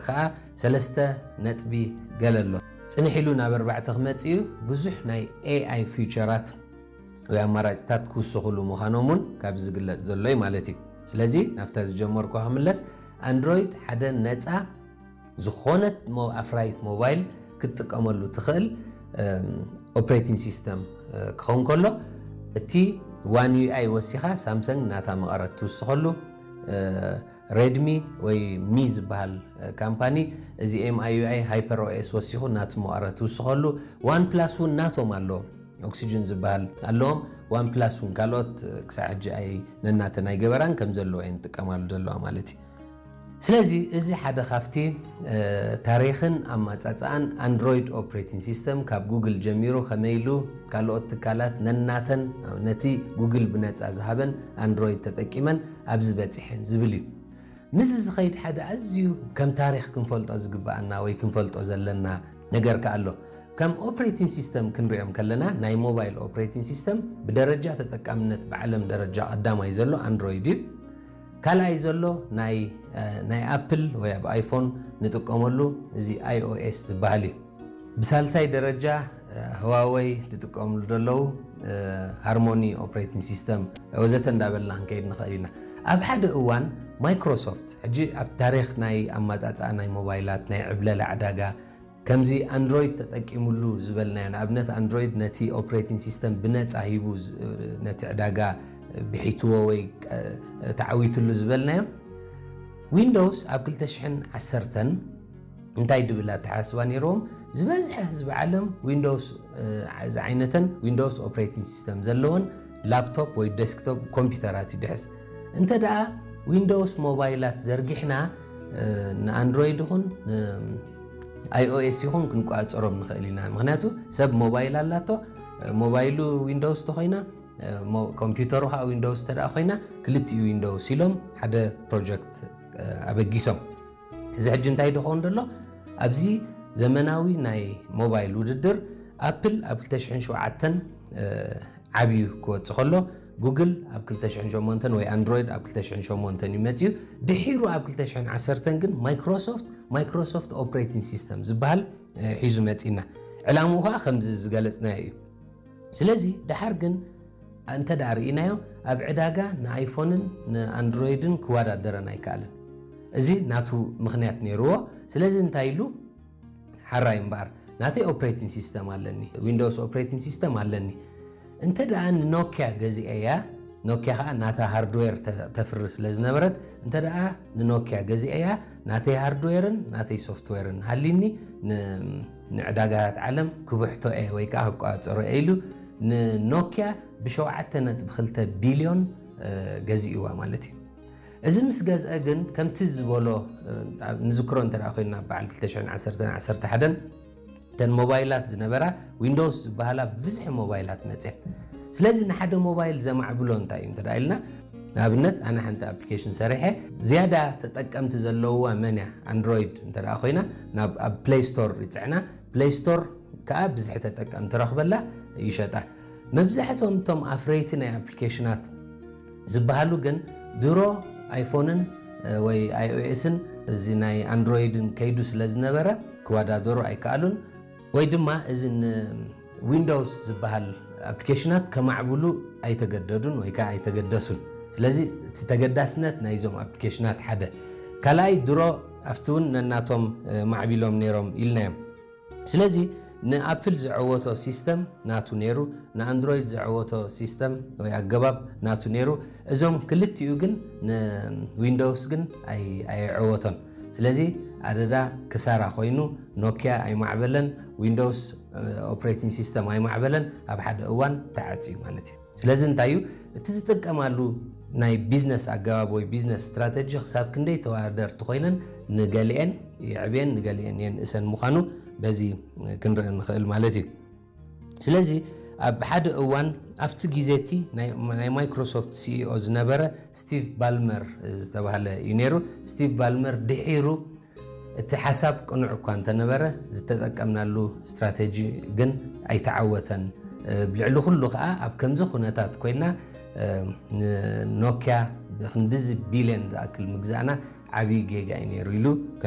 ከዓ ሰለስተ ነጥቢ ገለ ኣሎ። ፅንሕ ኢሉ ናብ ኣርባዕተ ክመፅእ እዩ። ብዙሕ ናይ ኤኣይ ፊውቸራት ወይ ኣማራፅታት ክውስኹሉ ምዃኖም እውን ካብዚ ዝግለፅ ዘሎ እዩ ማለት እዩ። ስለዚ ናብታ ዝጀመርኩ ክምለስ፣ ኣንድሮይድ ሓደ ነፃ ዝኾነት ኣፍራይት ሞባይል ክትጥቀመሉ ትኽእል ኦፕሬቲንግ ሲስተም ክኸውን ከሎ፣ እቲ ዋን ዩ ኣይ ወሲኻ ሳምሰንግ ናታ መቐረት ትውስኸሉ፣ ሬድሚ ወይ ሚ ዝበሃል ካምፓኒ እዚ ኤም ኣይ ዩ ኣይ ሃይፐር ኦኤስ ወሲኹ ናቱ መቐረት ትውስኸሉ። ዋን ፕላስ እውን ናቶም ኣለዎም፣ ኦክሲጅን ዝበሃል ኣለዎም። ዋን ፕላስ እውን ካልኦት ክሳዕ ሕጂ ኣይ ነናተን ኣይገበራን ከም ዘለዎ እየን ዝጥቀማሉ ዘለዋ ማለት እዩ። ስለዚ እዚ ሓደ ካብቲ ታሪኽን ኣማፃፅኣን ኣንድሮይድ ኦፕሬቲንግ ሲስተም ካብ ጉግል ጀሚሩ ከመይ ኢሉ ካልኦት ትካላት ነናተን ነቲ ጉግል ብነፃ ዝሃበን ኣንድሮይድ ተጠቂመን ኣብዚ በፂሐን ዝብል እዩ። ምስዚ ዝኸይድ ሓደ ኣዝዩ ከም ታሪኽ ክንፈልጦ ዝግበኣና ወይ ክንፈልጦ ዘለና ነገር ከኣ ኣሎ። ከም ኦፕሬቲንግ ሲስተም ክንሪኦም ከለና ናይ ሞባይል ኦፕሬቲንግ ሲስተም ብደረጃ ተጠቃምነት ብዓለም ደረጃ ቀዳማይ ዘሎ ኣንድሮይድ እዩ። ካልኣይ ዘሎ ናይ ኣፕል ወይ ኣብ ኣይፎን ንጥቀመሉ እዚ ኣይ ኦ ኤስ ዝበሃል እዩ። ብሳልሳይ ደረጃ ህዋወይ ዝጥቀምሉ ዘለዉ፣ ሃርሞኒ ኦፕሬቲንግ ሲስተም ወዘተ እንዳበልና ክንከይድ ንኽእል ኢና። ኣብ ሓደ እዋን ማይክሮሶፍት፣ ሕጂ ኣብ ታሪኽ ናይ ኣማፃፅኣ ናይ ሞባይላት ናይ ዕብለላ ዕዳጋ ከምዚ ኣንድሮይድ ተጠቂምሉ ዝበልናዮ፣ ንኣብነት ኣንድሮይድ ነቲ ኦፕሬቲንግ ሲስተም ብነፃ ሂቡ ነቲ ዕዳጋ ብሒትዎ ወይ ተዓዊትሉ ዝበልናዮ፣ ዊንዶውስ ኣብ ክልተ ሽሕን ዓሰርተን እንታይ ድብል ኣተሓስባ ነይርዎም? ዝበዝሐ ህዝቢ ዓለም ዊንዶውስ ዝዓይነተን ዊንዶውስ ኦፕሬቲንግ ሲስተም ዘለወን ላፕቶፕ ወይ ዴስክቶፕ ኮምፒውተራት ይድሕስ። እንተ ደኣ ዊንዶውስ ሞባይላት ዘርጊሕና ንኣንድሮይድ ይኹን ኣይኦኤስ ይኹን ክንቋፀሮም ንኽእል ኢና። ምክንያቱ ሰብ ሞባይል ኣላቶ፣ ሞባይሉ ዊንዶውስ ተኮይና ኮምፒውተሩ ከዓ ዊንዶውስ ተደኣ ኮይና ክልቲኡ ዊንዶውስ ኢሎም ሓደ ፕሮጀክት ኣበጊሶም። እዚ ሕጂ እንታይ ድኸውን ደሎ? ኣብዚ ዘመናዊ ናይ ሞባይል ውድድር ኣፕል ኣብ ክልተ ሽሕን ሸውዓተን ዓብዩ ክወፅ ከሎ፣ ጉግል ኣብ ክልተ ሽሕን ሸሞንተን ወይ ኣንድሮይድ ኣብ ክልተ ሽሕን ሸሞንተን እዩ መፅዩ። ድሒሩ ኣብ ክልተ ሽሕን ዓሰርተን ግን ማይክሮሶፍት ማይክሮሶፍት ኦፕሬቲንግ ሲስተም ዝበሃል ሒዙ መፂና። ዕላምኡ ከዓ ከምዚ ዝገለፅናዮ እዩ። ስለዚ ደሓር ግን እንተ ደኣ ርኢናዮ፣ ኣብ ዕዳጋ ንኣይፎንን ንኣንድሮይድን ክወዳደረን ኣይከኣለን። እዚ ናቱ ምኽንያት ነይርዎ። ስለዚ እንታይ ኢሉ? ሓራይ እምበኣር ናተይ ኦፕሬቲንግ ሲስተም ኣለኒ፣ ዊንዶውስ ኦፕሬቲንግ ሲስተም ኣለኒ። እንተ ደኣ ንኖኪያ ገዚኤያ፣ ኖኪያ ከዓ ናታ ሃርድዌር ተፍሪ ስለ ዝነበረት፣ እንተ ደኣ ንኖኪያ ገዚኤያ፣ ናተይ ሃርድዌርን ናተይ ሶፍትዌርን ሃሊኒ ንዕዳጋታት ዓለም ክብሕቶ እየ ወይ ከዓ ክቋፀሮ እየ ኢሉ ንኖኪያ ብሸውዓተ ነጥቢ ክልተ ቢልዮን ገዚእዋ ማለት እዩ። እዚ ምስ ገዝአ ግን ከምቲ ዝበሎ ንዝክሮ እንተ ኮይና በዓል ክልተ ሽሕን ዓሰርተን ዓሰርተ ሓደን እተን ሞባይላት ዝነበራ ዊንዶውስ ዝበሃላ ብብዝሒ ሞባይላት መፅየን። ስለዚ ንሓደ ሞባይል ዘማዕብሎ እንታይ እዩ እንተ ኢልና፣ ንኣብነት ኣነ ሓንቲ ኣፕሊኬሽን ሰሪሐ ዝያዳ ተጠቀምቲ ዘለውዋ መን እያ? ኣንድሮይድ እንተ ኮይና ናብ ኣብ ፕሌይ ስቶር ይፅዕና። ፕሌይ ስቶር ከዓ ብዝሒ ተጠቀምቲ ረኽበላ ይሸጣ። መብዛሕትኦም እቶም ኣፍረይቲ ናይ ኣፕሊኬሽናት ዝበሃሉ ግን ድሮ ኣይፎንን ወይ ኣይኦኤስን እዚ ናይ ኣንድሮይድን ከይዱ ስለ ዝነበረ ክወዳደሩ ኣይከኣሉን። ወይ ድማ እዚ ንዊንዶውስ ዝበሃል ኣፕሊኬሽናት ከማዕብሉ ኣይተገደዱን ወይ ከዓ ኣይተገደሱን። ስለዚ እቲ ተገዳስነት ናይዞም ኣፕሊኬሽናት ሓደ። ካልኣይ ድሮ ኣብቲ እውን ነናቶም ማዕቢሎም ነይሮም ኢልናዮም። ስለዚ ንኣፕል ዘዐወቶ ሲስተም ናቱ ነይሩ፣ ንኣንድሮይድ ዘዐወቶ ሲስተም ወይ ኣገባብ ናቱ ነይሩ። እዞም ክልቲኡ ግን ንዊንዶውስ ግን ኣይ- ኣየዐወቶን። ስለዚ ኣደዳ ክሳራ ኮይኑ ኖኪያ ኣይማዕበለን፣ ዊንዶውስ ኦፕሬቲንግ ሲስተም ኣይማዕበለን፣ ኣብ ሓደ እዋን ተዓፅዩ ማለት እዩ። ስለዚ እንታይ እዩ እቲ ዝጥቀማሉ ናይ ቢዝነስ ኣገባብ ወይ ቢዝነስ ስትራተጂ ክሳብ ክንደይ ተወዳደርቲ ኮይነን ንገሊኤን የዕብየን ንገሊኤን የንእሰን ምዃኑ በዚ ክንርኢ ንኽእል ማለት እዩ። ስለዚ ኣብ ሓደ እዋን ኣብቲ ግዜ እቲ ናይ ማይክሮሶፍት ሲኢኦ ዝነበረ ስቲቭ ባልመር ዝተባህለ እዩ ነይሩ። ስቲቭ ባልመር ድሒሩ እቲ ሓሳብ ቅኑዕ እኳ እንተነበረ ዝተጠቀምናሉ ስትራተጂ ግን ኣይተዓወተን። ብልዕሊ ኩሉ ከዓ ኣብ ከምዚ ኩነታት ኮይና ንኖኪያ ብክንድዚ ቢልዮን ዝኣክል ምግዛእና ዓብዪ ጌጋ እዩ ነይሩ ኢሉ